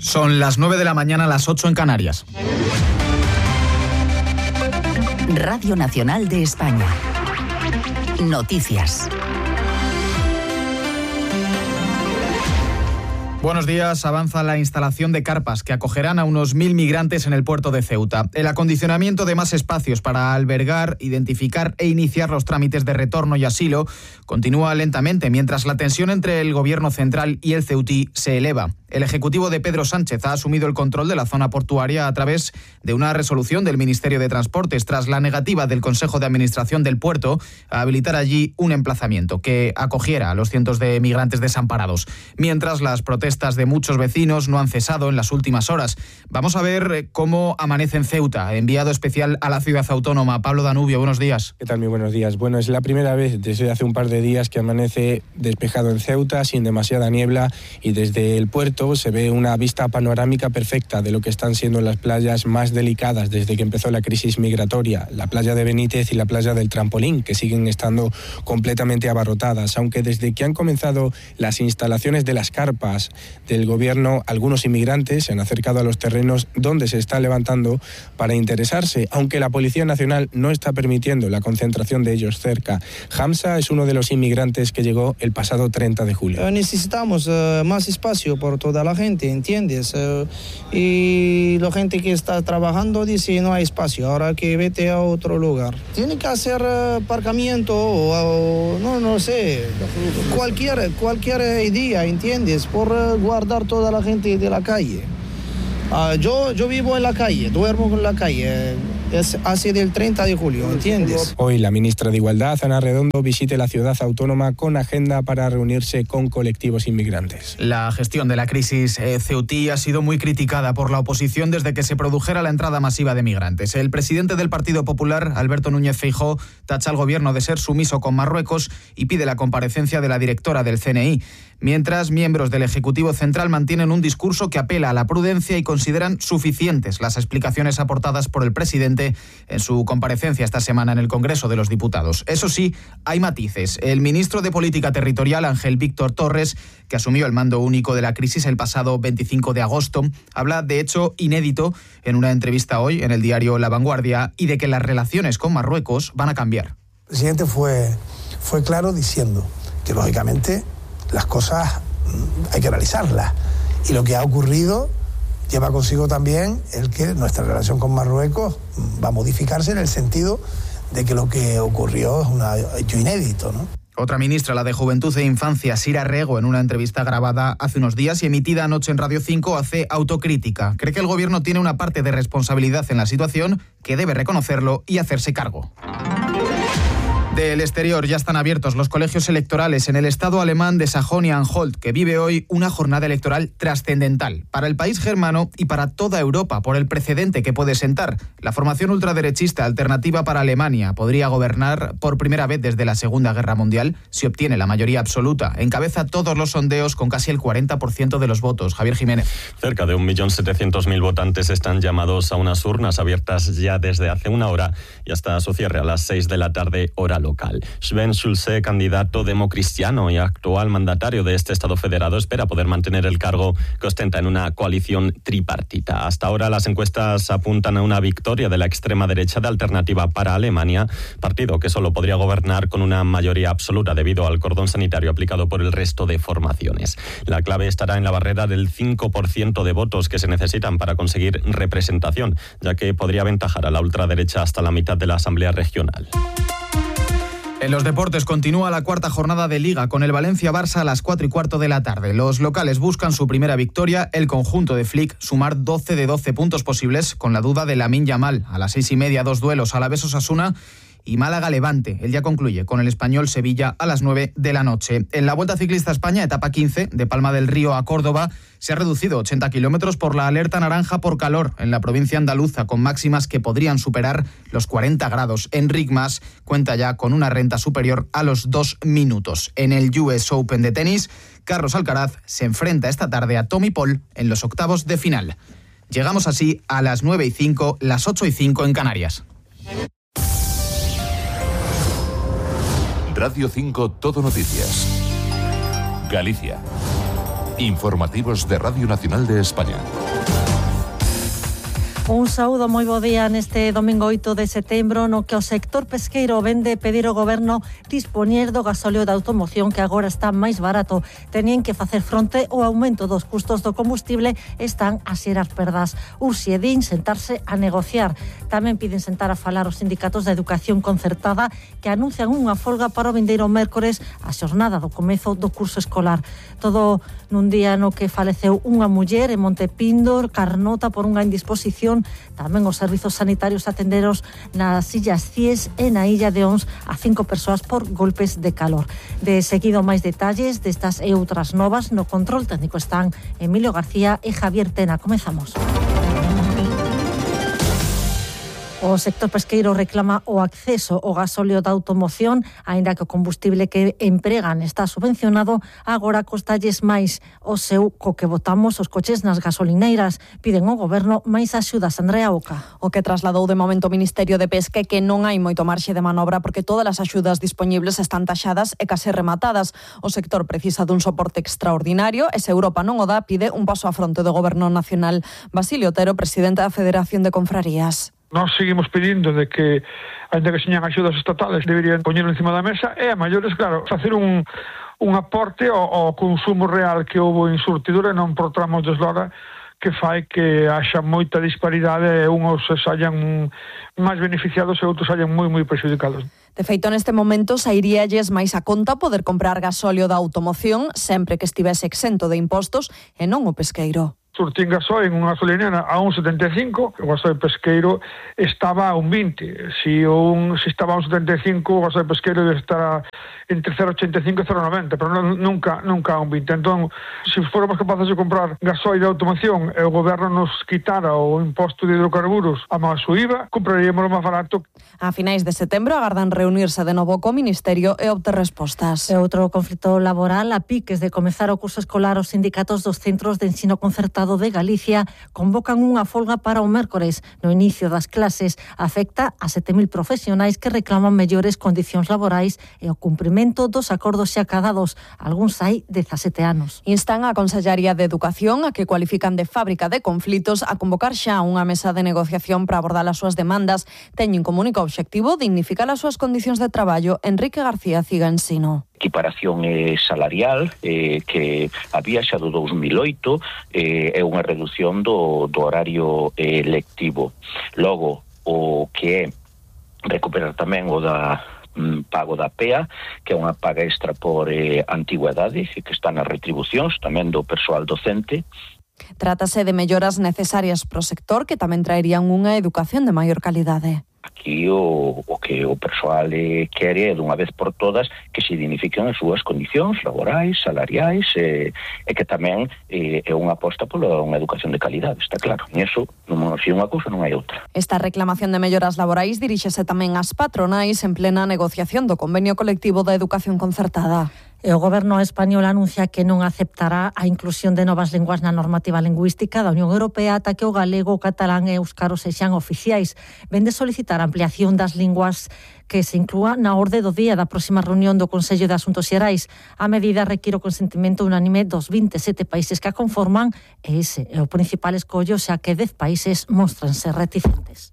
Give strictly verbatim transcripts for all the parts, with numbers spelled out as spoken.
Son las nueve de la mañana, las ocho en Canarias. Radio Nacional de España. Noticias. Buenos días. Avanza la instalación de carpas que acogerán a unos mil migrantes en el puerto de Ceuta. El acondicionamiento de más espacios para albergar, identificar e iniciar los trámites de retorno y asilo continúa lentamente, mientras la tensión entre el gobierno central y el ceutí se eleva. El Ejecutivo de Pedro Sánchez ha asumido el control de la zona portuaria a través de una resolución del Ministerio de Transportes tras la negativa del Consejo de Administración del puerto a habilitar allí un emplazamiento que acogiera a los cientos de migrantes desamparados. Mientras, las protestas de muchos vecinos no han cesado en las últimas horas. Vamos a ver cómo amanece en Ceuta. Enviado especial a la ciudad autónoma, Pablo Danubio, buenos días. ¿Qué tal? Muy buenos días. Bueno, es la primera vez desde hace un par de días que amanece despejado en Ceuta, sin demasiada niebla, y desde el puerto se ve una vista panorámica perfecta de lo que están siendo las playas más delicadas desde que empezó la crisis migratoria, la playa de Benítez y la playa del Trampolín, que siguen estando completamente abarrotadas, aunque desde que han comenzado las instalaciones de las carpas del gobierno, algunos inmigrantes se han acercado a los terrenos donde se está levantando para interesarse, aunque la Policía Nacional no está permitiendo la concentración de ellos cerca. Hamza es uno de los inmigrantes que llegó el pasado treinta de julio. Necesitamos uh, más espacio por todo de la gente, ¿entiendes? Uh, y la gente que está trabajando dice no hay espacio, ahora que vete a otro lugar. Tiene que hacer uh, aparcamiento o, o no, no sé, cualquier, cualquier idea, ¿entiendes? Por uh, guardar toda la gente de la calle. Uh, yo, yo vivo en la calle, duermo en la calle. Es así del treinta de julio, ¿entiendes? Hoy la ministra de Igualdad, Ana Redondo, visite la ciudad autónoma con agenda para reunirse con colectivos inmigrantes. La gestión de la crisis eh, ceutí ha sido muy criticada por la oposición desde que se produjera la entrada masiva de migrantes. El presidente del Partido Popular, Alberto Núñez Feijóo, tacha al gobierno de ser sumiso con Marruecos y pide la comparecencia de la directora del C N I. Mientras, miembros del Ejecutivo Central mantienen un discurso que apela a la prudencia y consideran suficientes las explicaciones aportadas por el presidente en su comparecencia esta semana en el Congreso de los Diputados. Eso sí, hay matices. El ministro de Política Territorial, Ángel Víctor Torres, que asumió el mando único de la crisis el pasado veinticinco de agosto, habla de hecho inédito en una entrevista hoy en el diario La Vanguardia y de que las relaciones con Marruecos van a cambiar. El presidente fue, fue claro diciendo que lógicamente las cosas hay que analizarlas y lo que ha ocurrido lleva consigo también el que nuestra relación con Marruecos va a modificarse en el sentido de que lo que ocurrió es un hecho inédito, ¿no? Otra ministra, la de Juventud e Infancia, Sira Rego, en una entrevista grabada hace unos días y emitida anoche en Radio cinco, hace autocrítica. Cree que el gobierno tiene una parte de responsabilidad en la situación, que debe reconocerlo y hacerse cargo. Del exterior, ya están abiertos los colegios electorales en el estado alemán de Sajonia-Anhalt, que vive hoy una jornada electoral trascendental para el país germano y para toda Europa por el precedente que puede sentar. La formación ultraderechista Alternativa para Alemania podría gobernar por primera vez desde la Segunda Guerra Mundial si obtiene la mayoría absoluta. Encabeza todos los sondeos con casi el cuarenta por ciento de los votos. Javier Jiménez. Cerca de un millón setecientos mil votantes están llamados a unas urnas abiertas ya desde hace una hora y hasta su cierre a las seis de la tarde, hora local. Sven Schulze, candidato democristiano y actual mandatario de este Estado federado, espera poder mantener el cargo que ostenta en una coalición tripartita. Hasta ahora las encuestas apuntan a una victoria de la extrema derecha de Alternativa para Alemania, partido que solo podría gobernar con una mayoría absoluta debido al cordón sanitario aplicado por el resto de formaciones. La clave estará en la barrera del cinco por ciento de votos que se necesitan para conseguir representación, ya que podría aventajar a la ultraderecha hasta la mitad de la Asamblea Regional. En los deportes continúa la cuarta jornada de Liga con el Valencia-Barça a las cuatro y cuarto de la tarde. Los locales buscan su primera victoria, el conjunto de Flick sumar doce de doce puntos posibles con la duda de Lamine Yamal. A las seis y media, dos duelos, Alavés-Osasuna y Málaga-Levante. El día concluye con el Español-Sevilla a las nueve de la noche. En la Vuelta Ciclista a España, etapa quince, de Palma del Río a Córdoba, se ha reducido ochenta kilómetros por la alerta naranja por calor en la provincia andaluza, con máximas que podrían superar los cuarenta grados. Enric Mas cuenta ya con una renta superior a los dos minutos. En el U S Open de tenis, Carlos Alcaraz se enfrenta esta tarde a Tommy Paul en los octavos de final. Llegamos así a las nueve y cinco, las ocho y cinco en Canarias. Radio cinco Todo Noticias. Galicia. Informativos de Radio Nacional de España. Un saúdo, moi bo día neste domingo oito de setembro, no que o sector pesqueiro vende pedir ao goberno dispoñer do gasóleo da automoción, que agora está máis barato. Tenían que facer fronte ao aumento dos custos do combustible, están a xerar perdas. Urxe din sentarse a negociar. Tamén piden sentar a falar os sindicatos de educación concertada, que anuncian unha folga para o vindeiro mércores, a xornada do comezo do curso escolar. Todo nun día no que faleceu unha muller en Montepíndor, Carnota, por unha indisposición. Tamén os servizos sanitarios atenderos nas Illas Cies e na Illa de Ons a cinco persoas por golpes de calor. De seguido, máis detalles destas e outras novas. No control técnico están Emilio García e Javier Tena. Comezamos. O sector pesqueiro reclama o acceso ao gasóleo da automoción, aínda que o combustible que empregan está subvencionado, agora costalles máis o seu co que botamos os coches nas gasolineiras. Piden ao goberno máis axudas. Andrea Oca. O que trasladou de momento o Ministerio de Pesca é que non hai moito marxe de manobra porque todas as axudas dispoñibles están taxadas e case rematadas. O sector precisa dun soporte extraordinario e se Europa non o dá, pide un paso á fronte do Goberno Nacional. Basilio Otero, presidente da Federación de Confrarías. Nós seguimos pedindo de que, ainda que señan axudas estatales, deberían poñelo encima da mesa e a maiores, claro, facer un, un aporte ao, ao consumo real que houve en surtidura e non por tramos de eslora, que fai que haxa moita disparidade e uns saian máis beneficiados e outros saian moi, moi prexudicados. De feito, neste momento sairíalles máis a conta poder comprar gasóleo da automoción sempre que estivese exento de impostos e non o pesqueiro. Surtín gasoil en unha gasolinera a un setenta e cinco, o gasoil pesqueiro estaba a un vinte. Si, un, si estaba a un setenta e cinco, o gasoil pesqueiro debe estar entre cero ochenta e cinco e cero noventa, pero non, nunca, nunca a un vinte. Entón, se fóramos capaces de comprar gasoil de automoción e o goberno nos quitara o imposto de hidrocarburos a máis o I V A, compraríamos o máis barato. A finais de setembro agardan reunirse de novo co Ministerio e obter respostas. E outro conflito laboral, a piques de comezar o curso escolar, os sindicatos dos centros de ensino concertado de Galicia convocan unha folga para o mércores. No inicio das clases afecta a sete mil profesionais que reclaman mellores condicións laborais e o cumprimento dos acordos xa acadados. Algúns hai dezasete anos. Instan a Consellaría de Educación, a que cualifican de fábrica de conflitos, a convocar xa unha mesa de negociación para abordar as súas demandas. Teñen como único obxectivo dignificar as súas condicións de traballo. Enrique García Ciga Ensino. Equiparación eh, salarial eh, que había xa do dous mil oito eh, é unha reducción do, do horario eh, lectivo. Logo, o que é recuperar tamén o da mm, pago da P E A, que é unha paga extra por eh, antigüedade, que está nas retribucións tamén do persoal docente. Trátase de melloras necesarias pro sector que tamén traerían unha educación de maior calidade. Aquí o, o que o persoal eh, quere é dunha vez por todas que se dignifiquen as súas condicións laborais, salariais e, e que tamén eh, é unha aposta pola unha educación de calidade, está claro. E iso, non é unha cousa, non hai outra. Esta reclamación de melloras laborais diríxese tamén ás patronais en plena negociación do convenio colectivo da educación concertada. E o goberno español anuncia que non aceptará a inclusión de novas linguas na normativa lingüística da Unión Europea ata que o galego, o catalán e o éuscaro sexan oficiais. Vende solicitar a ampliación das linguas que se inclúa na orde do día da próxima reunión do Consello de Asuntos Xerais. A medida require o consentimento unánime dos vinte e sete países que a conforman e ese é o principal escollo, xa que dez países mostranse reticentes.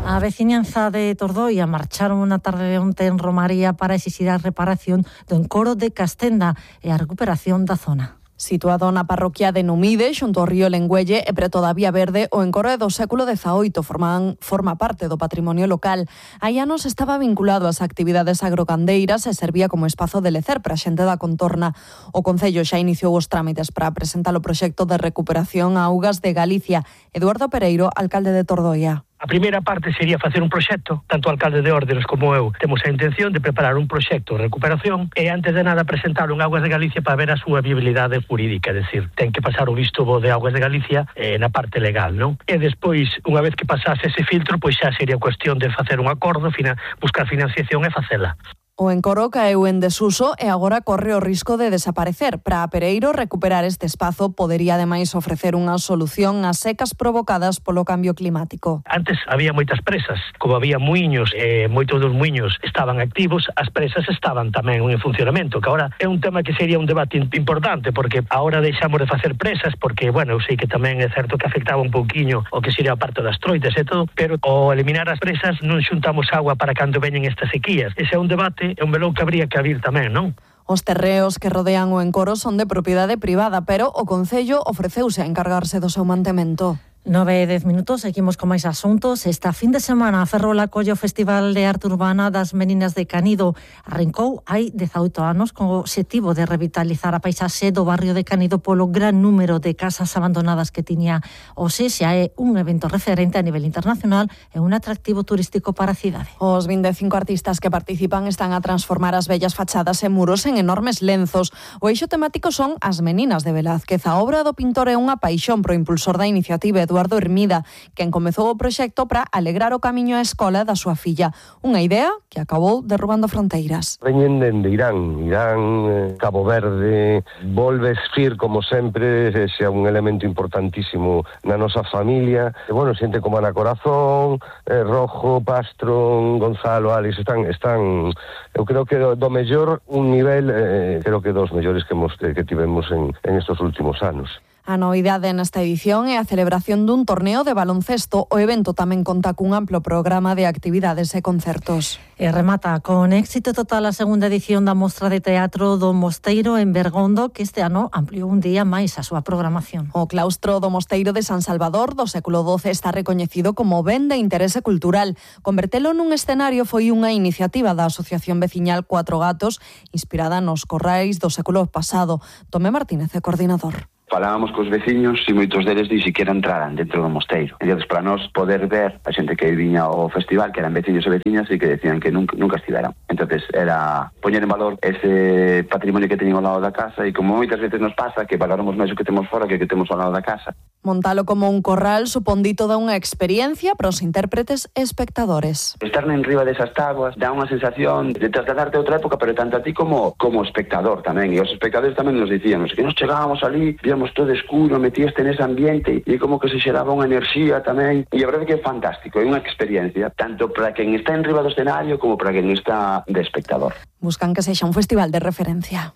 A veciñanza de Tordoia marcharon unha tarde de onte en Romaría para exixir a reparación do encoro de Castenda e a recuperación da zona. Situado na parroquia de Numide, xunto ao río Lengüelle e preto da Vía Verde, o encoro é do século dezaoito, forman, forma parte do patrimonio local. Hai anos estaba vinculado ás actividades agrogandeiras e servía como espazo de lecer para a xente da contorna. O Concello xa iniciou os trámites para presentar o proxecto de recuperación a augas de Galicia. Eduardo Pereiro, alcalde de Tordoia. A primeira parte sería facer un proxecto, tanto o alcalde de Orderos como eu temos a intención de preparar un proxecto de recuperación e antes de nada presentalo en Augas de Galicia para ver a súa viabilidade jurídica, é dicir, ten que pasar o visto bo de Augas de Galicia eh, na parte legal, non? E despois, unha vez que pasase ese filtro, pois xa sería cuestión de facer un acordo, fina, buscar financiación e facela. O encoro caeu en desuso e agora corre o risco de desaparecer. Para a Pereiro, recuperar este espazo podería ademais ofrecer unha solución ás secas provocadas polo cambio climático. Antes había moitas presas, como había muiños e moitos dos muiños estaban activos, as presas estaban tamén en funcionamento, que agora é un tema que sería un debate importante, porque agora deixamos de facer presas, porque, bueno, eu sei que tamén é certo que afectaba un pouquiño o que sería a parte das troitas e todo, pero ao eliminar as presas non xuntamos agua para cando veñen estas sequías. Ese é un debate, é un melón que habría que abrir tamén, non? Os terreos que rodean o encoro son de propiedade privada, pero o Concello ofreceuse a encargarse do seu mantemento. nove e dez minutos, seguimos con máis asuntos. Esta fin de semana a Ferrol acolle o Festival de Arte Urbana das Meninas de Canido. Arrancou hai dezaoito anos con o obxectivo de revitalizar a paisaxe do barrio de Canido polo gran número de casas abandonadas que tiña. O se xa é un evento referente a nivel internacional e un atractivo turístico para a cidade. Os vinte e cinco artistas que participan están a transformar as bellas fachadas e muros en enormes lenzos. O eixo temático son as Meninas de Velázquez. A obra do pintor é unha paixón pro impulsor da iniciativa, Eduardo Hermida, quen comezou o proxecto para alegrar o camiño á escola da súa filla. Unha idea que acabou derrubando fronteiras. Veñen dende Irán, Irán, Cabo Verde, volve Esfir, como sempre, é un elemento importantísimo na nosa familia. E, bueno, xente como Ana Corazón, eh, Rojo, Pastro, Gonzalo, Alex, están, están eu creo que do, do mellor un nivel, eh, creo que dos mellores que, hemos, que, que tivemos en, en estos últimos anos. A novidade nesta edición é a celebración dun torneo de baloncesto. O evento tamén conta cun amplo programa de actividades e concertos. E remata con éxito total a segunda edición da Mostra de Teatro do Mosteiro en Bergondo, que este ano ampliou un día máis a súa programación. O claustro do Mosteiro de San Salvador do século doce está recoñecido como ben de interese cultural. Convertelo nun escenario foi unha iniciativa da Asociación Veciñal Cuatro Gatos, inspirada nos corrais do século pasado. Tomé Martínez é coordinador. Falábamos cos veciños e moitos deles ni siquiera entraran dentro do mosteiro. Entón, para nós poder ver a xente que viña ao festival, que eran veciños e veciñas e que decían que nunca, nunca estiveran. Entón, era poñer en valor ese patrimonio que teñen ao lado da casa e como moitas veces nos pasa que valoramos máis o que temos fora que o que temos ao lado da casa. Montalo como un corral supón toda unha experiencia para os intérpretes e espectadores. Estar en riba desas táboas dá unha sensación de trasladarte a outra época, pero tanto a ti como, como espectador tamén. E os espectadores tamén nos dicían que nos chegábamos ali, víamos todo escuro, metíaste nese ambiente e como que se xeraba unha enerxía tamén. E a verdade que é fantástico, é unha experiencia tanto para quen está en riba do escenario como para quen está de espectador. Buscan que sexa un festival de referencia.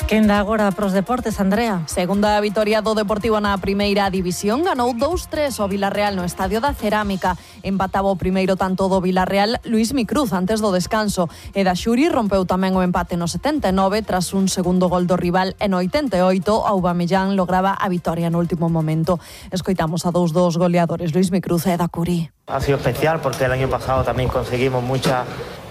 Quen dá agora pros deportes, Andrea? Segunda vitoria do Deportivo na primeira división, ganou dous tres o Vilarreal no Estadio da Cerámica. Empataba o primeiro tanto do Vilarreal Luís Micruz antes do descanso. E da Xuri rompeu tamén o empate no setenta e nove tras un segundo gol do rival e no oitenta e oito Aubameyang lograba a vitoria no último momento. Escoitamos a dous dos goleadores, Luís Micruz e da Curi. Ha sido especial porque el año pasado también conseguimos mucha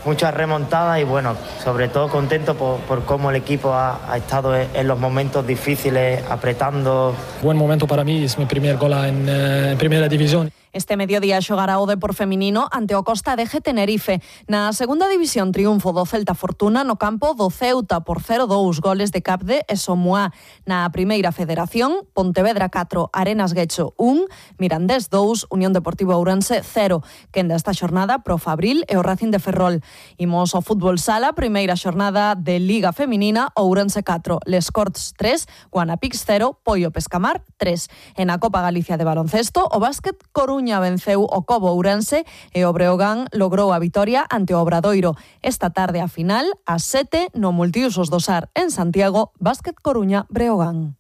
mucha remontada y bueno, sobre todo contento por, por cómo el equipo ha, ha estado en los momentos difíciles apretando. Buen momento para mí, es mi primer gol en, eh, en primera división. Este mediodía xogará o Depor feminino ante o Costa de G Tenerife. Na segunda división, triunfo do Celta Fortuna no campo do Ceuta por cero dous, goles de Capde e Somuá. Na primeira federación, Pontevedra catro, Arenas Guecho un, Mirandés dous, Unión Deportiva Ourense cero. Quenda esta xornada pro Fabril e o Racing de Ferrol. Imos ao fútbol sala, primeira xornada de Liga Feminina, Ourense catro, Les Corts tres, Guanapix cero, Poio Pescamar tres. E na Copa Galicia de baloncesto, o básquet Coruña venceu o Cobo Ourense e o Breogán logrou a vitoria ante o Obradoiro. Esta tarde a final, ás sete, no Multiusos do Sar en Santiago, Básquet Coruña Breogán.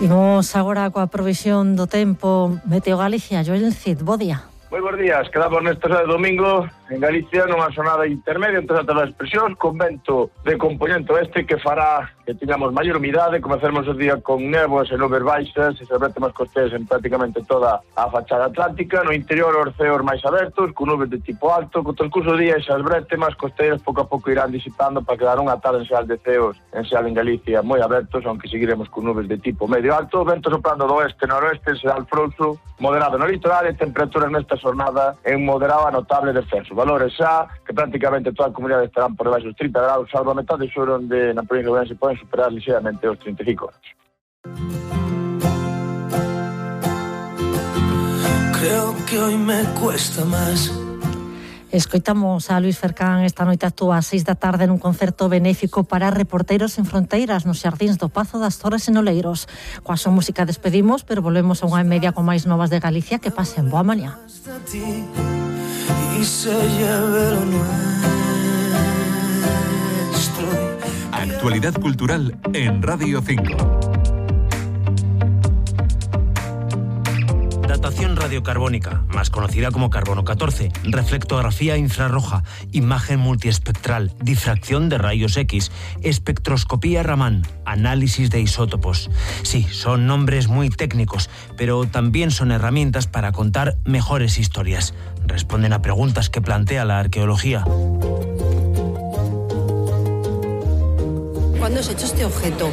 Imos agora coa provisión do tempo. Meteo Galicia, Joel Cid, bo día. Moi bons días, quedamos neste sábado domingo en Galicia nunha xornada intermedia entre as das expresións con vento de componente oeste que fará que tengamos maior umidade, comeceremos o día con néboas e nubes baixas e se vertemos costeiras en prácticamente toda a fachada atlántica, no interior os ceos máis abertos, con nubes de tipo alto, co transcurso do día esas bretemas costeiras pouco a pouco irán disipando para quedar unha tarde en xeral de ceos en xeral en Galicia moi abertos, aunque seguiremos con nubes de tipo medio alto, vento soprando do oeste noroeste, en xeral frouxo, moderado no litoral e temperaturas nesta xornada en moderado a notable descenso. Valores xa que prácticamente toda a comunidade estarán por debaixo dos trinta graus, salvo a metade sur onde na provincia de Ourense poden superar ligeiramente os trinta e cinco graus. creo que hoy me cuesta más. Escoitamos a Luís Fercán esta noite actúa ás seis da tarde nun concerto benéfico para Reporteros en Fronteiras nos xardíns do Pazo das Torres en Oleiros. Coa súa música despedimos, pero volvemos a unha e media con máis novas de Galicia. Que pasen boa mañá. Actualidad cultural en Radio cinco. Datación radiocarbónica, más conocida como carbono catorce, reflectografía infrarroja, imagen multiespectral, difracción de rayos X, espectroscopía Raman, análisis de isótopos. Sí, son nombres muy técnicos, pero también son herramientas para contar mejores historias. Responden a preguntas que plantea la arqueología. ¿Cuándo has hecho este objeto?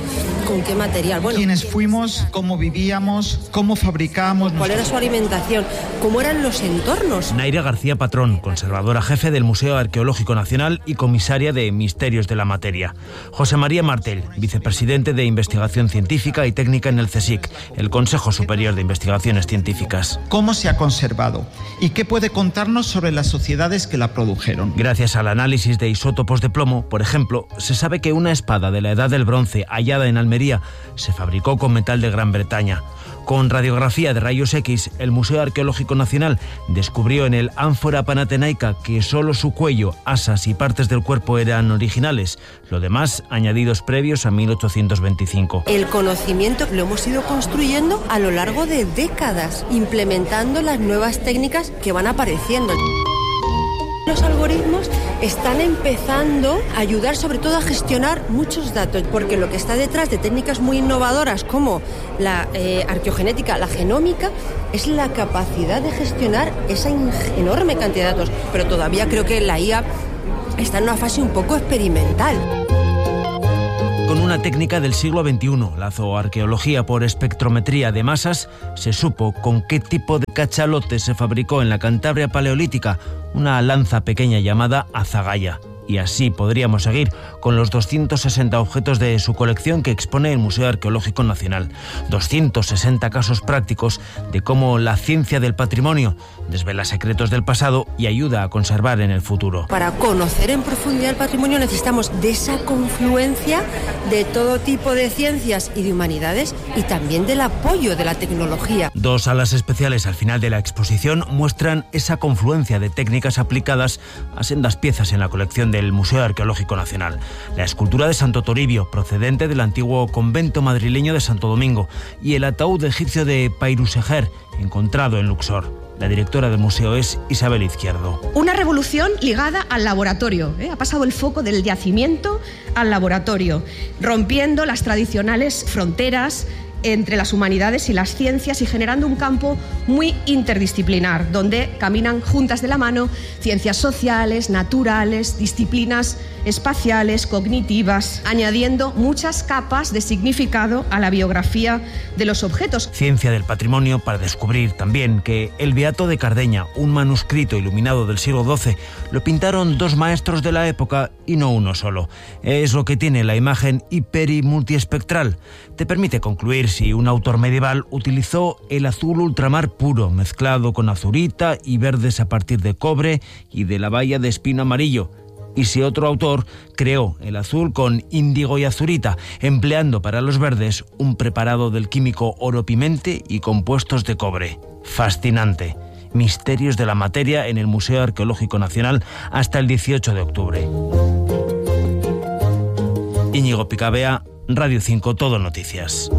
¿Con qué material? Bueno, ¿quiénes fuimos? ¿Cómo vivíamos? ¿Cómo fabricábamos? ¿Cuál era su alimentación? ¿Cómo eran los entornos? Naira García Patrón, conservadora jefe del Museo Arqueológico Nacional y comisaria de Misterios de la Materia. José María Martel, vicepresidente de Investigación Científica y Técnica en el CSIC, el Consejo Superior de Investigaciones Científicas. ¿Cómo se ha conservado? ¿Y qué puede contarnos sobre las sociedades que la produjeron? Gracias al análisis de isótopos de plomo, por ejemplo, se sabe que una espada de la Edad del Bronce hallada en Almería se fabricó con metal de Gran Bretaña. Con radiografía de rayos X, el Museo Arqueológico Nacional descubrió en el ánfora panatenaica que solo su cuello, asas y partes del cuerpo eran originales, lo demás añadidos previos a mil ochocientos veinticinco. El conocimiento lo hemos ido construyendo a lo largo de décadas, implementando las nuevas técnicas que van apareciendo. Los algoritmos están empezando a ayudar sobre todo a gestionar muchos datos, porque lo que está detrás de técnicas muy innovadoras como la eh, arqueogenética, la genómica, es la capacidad de gestionar esa enorme cantidad de datos. Pero todavía creo que la I A está en una fase un poco experimental. Con una técnica del siglo veintiuno, la zooarqueología por espectrometría de masas, se supo con qué tipo de cachalote se fabricó en la Cantabria paleolítica una lanza pequeña llamada azagaya. Y así podríamos seguir con los doscientos sesenta objetos de su colección que expone el Museo Arqueológico Nacional. doscientos sesenta casos prácticos de cómo la ciencia del patrimonio desvela secretos del pasado y ayuda a conservar en el futuro. Para conocer en profundidad el patrimonio necesitamos de esa confluencia de todo tipo de ciencias y de humanidades y también del apoyo de la tecnología. Dos salas especiales al final de la exposición muestran esa confluencia de técnicas aplicadas a sendas piezas en la colección de el Museo Arqueológico Nacional. La escultura de Santo Toribio, procedente del antiguo convento madrileño de Santo Domingo, y el ataúd egipcio de Pairusejer, encontrado en Luxor. La directora del museo es Isabel Izquierdo. Una revolución ligada al laboratorio. ¿eh? Ha pasado el foco del yacimiento al laboratorio, rompiendo las tradicionales fronteras entre las humanidades y las ciencias y generando un campo muy interdisciplinar, donde caminan juntas de la mano ciencias sociales, naturales, disciplinas espaciales, cognitivas, añadiendo muchas capas de significado a la biografía de los objetos. Ciencia del patrimonio para descubrir también que el Beato de Cardeña, un manuscrito iluminado del siglo doce, lo pintaron dos maestros de la época y no uno solo. Es lo que tiene la imagen hiper y multiespectral. Te permite concluir si un autor medieval utilizó el azul ultramar puro, mezclado con azurita y verdes a partir de cobre y de la baya de espino amarillo, y si otro autor creó el azul con índigo y azurita, empleando para los verdes un preparado del químico oro-pimente y compuestos de cobre. Fascinante. Misterios de la materia en el Museo Arqueológico Nacional hasta el dieciocho de octubre. Íñigo Picabea, Radio cinco, Todo Noticias.